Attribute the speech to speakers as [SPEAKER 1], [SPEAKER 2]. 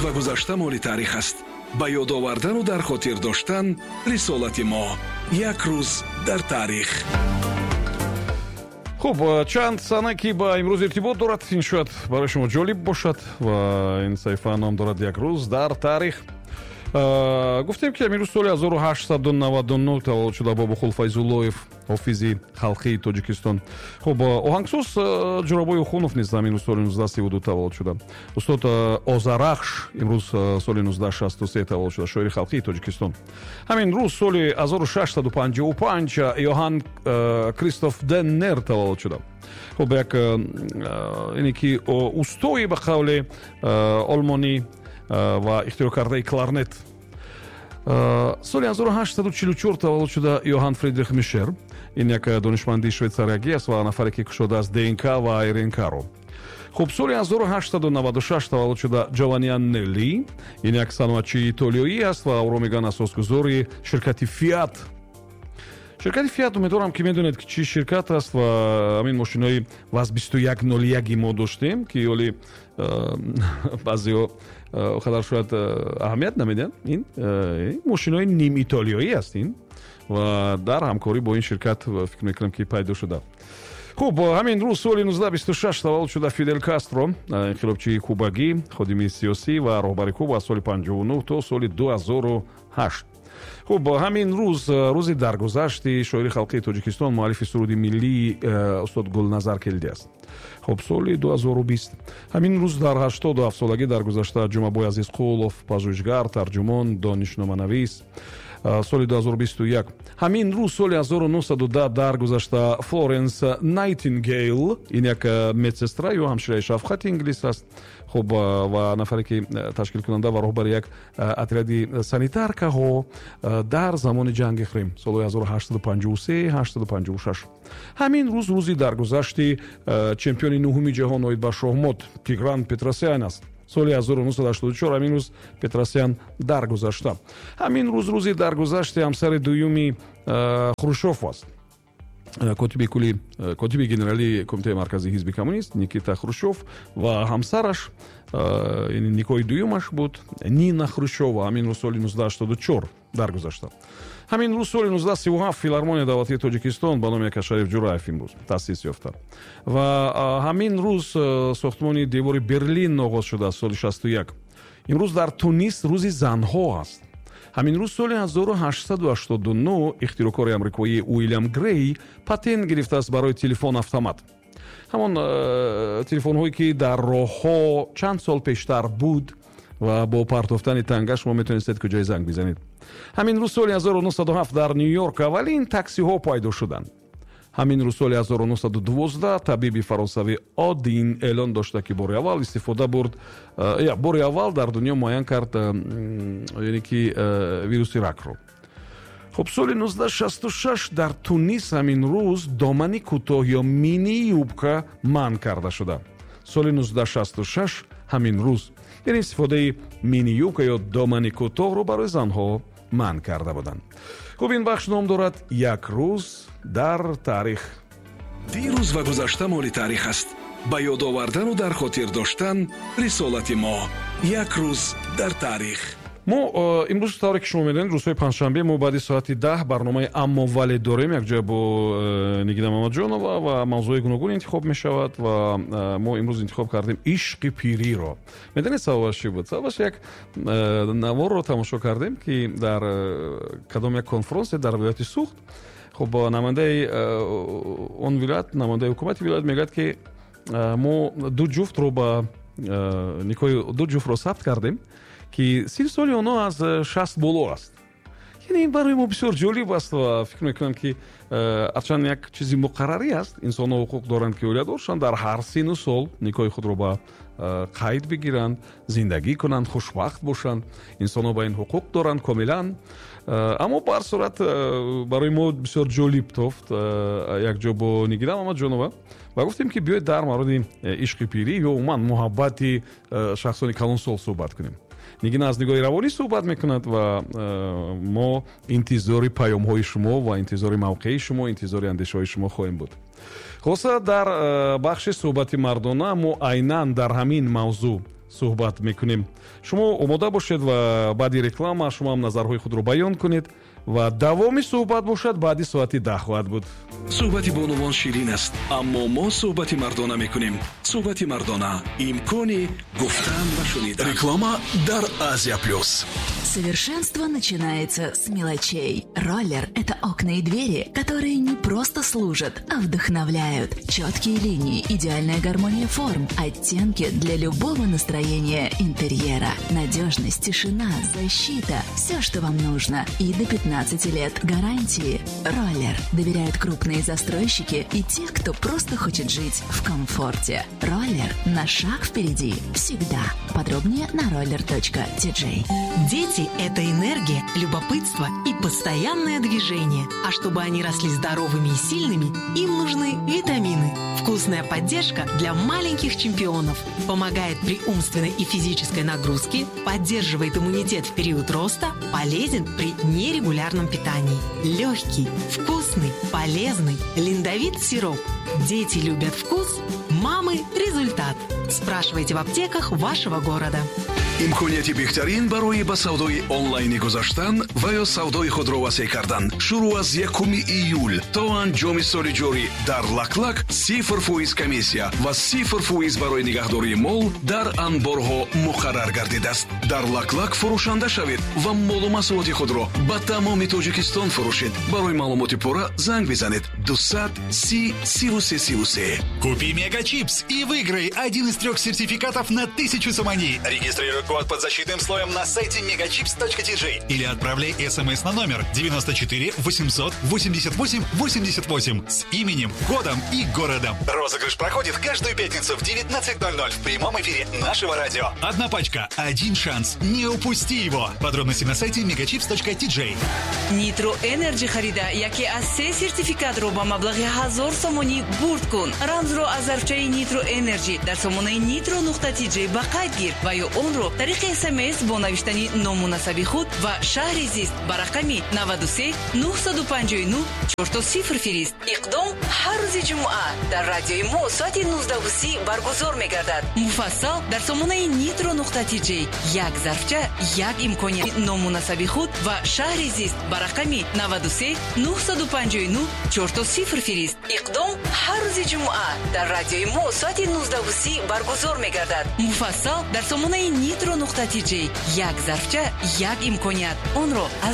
[SPEAKER 1] Ва гузашта моли таърих аст. Ба ёд овардану дар хотир доштан рисолати мо. Як рӯз дар таърих.
[SPEAKER 2] Хуб, чанд сана, ки ба имрӯз иртибот дорад, ин шояд барои шумо ҷолиб бошад ва ин саҳифа ном дорад «Як рӯз дар таърих». Гуфтем, ки имрӯз соли 1899 таваллуд шуда Бобохул Файзуллоев, ҳофизи халқии Тоҷикистон. Хуб, оҳангсоз Ҷурабой Ухунов низ ҳамин рӯз соли 1932 таваллуд шуда. Устод Озарахш имрӯз соли 1963 таваллуд шуда, шоири халқии Тоҷикистон. Ҳамин рӯз соли 1655 Йоҳан Кристоф Деннер таваллуд шуда. Хуб, як ине ки устои, ба қавле, олмонӣ ва ихтироъкардаи кларнет. Соли 1844 таваллуд шуда Йоҳан Фридрих Мишер. Ин як донишманди швейтсариягӣ аст ва нафаре, ки кушодааст ДНК ва РНК-ро. Хуб, соли 1896 таваллуд шуда Джованни Анелли. Ин як саноатчии итолиёӣ аст ва ӯро мегӯянд асосгузори ширкати «Фиат». Ширкати «Фиат», умедворам, ки медонед, ки чӣ ширкат аст ва ҳамин мошинои ВАЗ 2101 мо доштем, ки ҳоли баъзеҳо қадар шояд аҳамият намедиҳанд. Ин мошинои нимитолиёӣ аст ин ва дар ҳамкорӣ бо ин ширкат, фикр мекунам, ки пайдо шуда. Хуб, ҳамин рӯз соли 1926 таваллуд шуда Фидель Кастро, инқилобчии кубагӣ, ходими сиёсӣ ва роҳбари Куба аз соли 59 то соли 2008. Хуб, ҳамин рӯз рӯзи даргузашти шоири халқии Тоҷикистон, муаллифи суруди миллии устод Гулназар Келдӣ аст. Хуб, соли 2020 ҳамин рӯз дар 87 солагӣ даргузашта Ҷумабой Азизқулов, пажӯҳишгар, тарҷумон, донишноманавис, соли 2021. Ҳамин рӯз соли 1910 даргузашта Флоренс Найтингейл. Ин як медсестра ё ҳамшираи шафқати инглис аст. Хуб, ва нафаре, ки ташкилкунанда ва роҳбари як отряди санитаркаҳо дар замони ҷанги Хрим, солҳои 1853 856. Ҳамин рӯз рӯзи даргузашти чемпиони нуҳуми ҷаҳон оид ба шоҳмот Тигран Петросян аст. Соли 1984 ҳамин рӯз Петросян даргузашта. Ҳамин рӯз рӯзи даргузашти ҳамсари дуюми Хрушёв аст, котиби кулли, котиби генералии Кумитаи марказии ҳизби коммунист Никита Хрушёв ва ҳамсараш, никоҳи дуюмаш буд, Нина Хрушёва, ҳамин рӯз соли 1984 даргузашта. Ҳамин рӯз соли 1937 Филармония давлатии Тоҷикистон ба номи Акашариф Ҷураев имрӯз таъсис ёфта ва ҳамин рӯз сохтмони девори Берлин оғоз шудааст, соли 61. Имрӯз дар Тунис рӯзи занҳо аст. Ҳамин рӯз соли 1889 ихтироъкори амрикоӣ Уилям Грей патент гирифтааст барои телефон автомат, ҳамон телефонҳое, ки дар роҳҳо чанд сол пештар буд ва бо партофтани танга шумо метавонистед куҷое занг бизанед. Ҳамин рӯз соли 1907 дар Ню Йорк аввалин таксиҳо пайдо шуданд. Ҳамин рӯз соли 1912 табиби фаронсавӣ Один эълон дошта, ки бори аввал истифода бурд, бори аввал дар дунё муайян кард, яъне ки вируси ракро. Хуб, соли 1966 дар Тунис ҳамин рӯз домани кӯтоҳ ё мини юбка манъ карда шуда. Соли 1966 ҳамин рӯз, яъне истифодаи мини юбка ё домани кӯтоҳро барои занҳо манъ карда буданд. Хуб, ин бахш ном дорад «Як рӯз дар таърих».
[SPEAKER 1] Дирӯз ва гузашта моли таърих аст. Ба ёд овардану дар хотир доштан рисолати мо. Як рӯз дар таърих.
[SPEAKER 2] Мо имрӯз, тавре ки шумо медонед, рӯзҳои панҷшанбе мо баъди соати 10 барномаи «Аммо вале» дорем якҷоя бо Нигина Мамаҷонова ва мавзӯи гуногун интихоб мешавад ва мо имрӯз интихоб кардем ишқи пириро. Медонед, сабабаш чӣ буд? Сабабаш, як наворро тамошо кардем, ки дар кадом як конфронсе дар вилояти Суғд, хуб, намояндаи он вилоят, намояндаи ҳукумати вилоят мегӯяд, ки мо ду ҷуфтро ба никоҳи ду ҷуфтро сабт кардем, ки синну соли онҳо аз 60 боло аст. Яъне ин барои мо бисёр ҷолиб аст ва фикр мекунам, ки ҳарчанд як чизи муқаррарӣ аст, инсонҳо ҳуқуқ доранд, ки оиладор шаванд, дар ҳар синну сол никоҳи худро ба қайд бигиранд, зиндагӣ кунанд, хушбахт бошанд. Инсонҳо ба ин ҳуқуқ доранд комилан, аммо ба ҳар сурат барои мо бисёр ҷолиб тофт якҷо бо Нигина Мамаҷонова ва гуфтем, ки биёед дар мавриди ишқи пирӣ ё умуман муҳаббати шахсони калонсол суҳбат кунем. Нигина аз нигоҳи равонӣ суҳбат мекунад ва мо интизори паёмҳои шумо ва интизори мавқеи шумо, интизори андешаҳои шумо хоҳем буд. Хулоса, дар бахши суҳбати мардона мо айнан дар ҳамин мавзӯъ Суҳбат мекунем. Шумо омода бошед ва баъди реклама шумо ҳам назарҳои худро баён кунед ва давоми суҳбат бошад баъди соати 10 хоҳад буд.
[SPEAKER 1] Суҳбати бонувон ширин аст, аммо мо суҳбати мардона мекунем. Суҳбати мардона, имкони гуфтан ва шунидан. Реклама дар Азия Плюс.
[SPEAKER 3] Совершенство начинается с мелочей. Роллер – это окна и двери, которые не просто служат, а вдохновляют. Четкие линии, идеальная гармония форм, оттенки для любого настроения интерьера. Надежность, тишина, защита – все, что вам нужно. И до 15 лет гарантии. Роллер. Доверяют крупные застройщики и те, кто просто хочет жить в комфорте. Роллер на шаг впереди. Всегда. Подробнее на roller.tj.
[SPEAKER 4] Дети – это энергия, любопытство и постоянное движение. А чтобы они росли здоровыми и сильными, им нужны витамины. Вкусная поддержка для маленьких чемпионов. Помогает при умственной и физической нагрузке, поддерживает иммунитет в период роста, полезен при нерегулярном питании. Легкий, вкусный, полезный Линдовит сироп. Дети любят вкус, мамы – результат. Спрашивайте в аптеках вашего города.
[SPEAKER 1] Имконияти беҳтарин барои ба савдои онлайнӣ гузаштан ва ё савдои худро васеъ кардан шурӯъ аз 1 июл то анҷоми соли ҷорӣ дар Лаклак 0% комиссия ва 0% барои нигаҳдории мол дар анборҳо муқаррар гардидааст. Дар Лаклак фурӯшанда шавед ва молу маҳсулоти худро ба тамоми Тоҷикистон фурӯшед. Барои маълумоти пурра занг бизанед: 200 30 33 33.
[SPEAKER 5] Купи Мегачипс и выиграй один из трех сертификатов на 1000 сомони. Регистрируй код под защитным слоем на сайте megachips.tj или отправляй смс на номер 94 888 88 с именем, годом и городом. Розыгрыш проходит каждую пятницу в 19.00 в прямом эфире нашего радио. Одна пачка, один шанс. Не упусти его. Подробности на сайте megachips.tj.
[SPEAKER 6] Нитро Энерджи харида яке аз се сертификатро ба маблағи 1000 сомонӣ бурд кун. Рамзро аз зарфчаи Нитро Энерджи дар сомонаи nitro.tj ба қайд гир ва ё онро тариқи СМС бо навиштани ному насаби худ ва шаҳри зист ба рақами 93 959 00 фирист. Иқдом ҳар рӯзи ҷумъа дар радиои мо соати 19:30 баргузор мегардад. Муфассал дар сомонаи nitro.tj. Як зарфча, як имконият. Ному насаби худ ва шаҳри зист ба рақами 93 959 00 фирист. Иқдом ҳар рӯзи ҷумъа дар радиои мо соати 19:30 баргузор мегардад. Муфассал дар сомонаи nitro.tj. Як зарфча, як имконият. Онро аз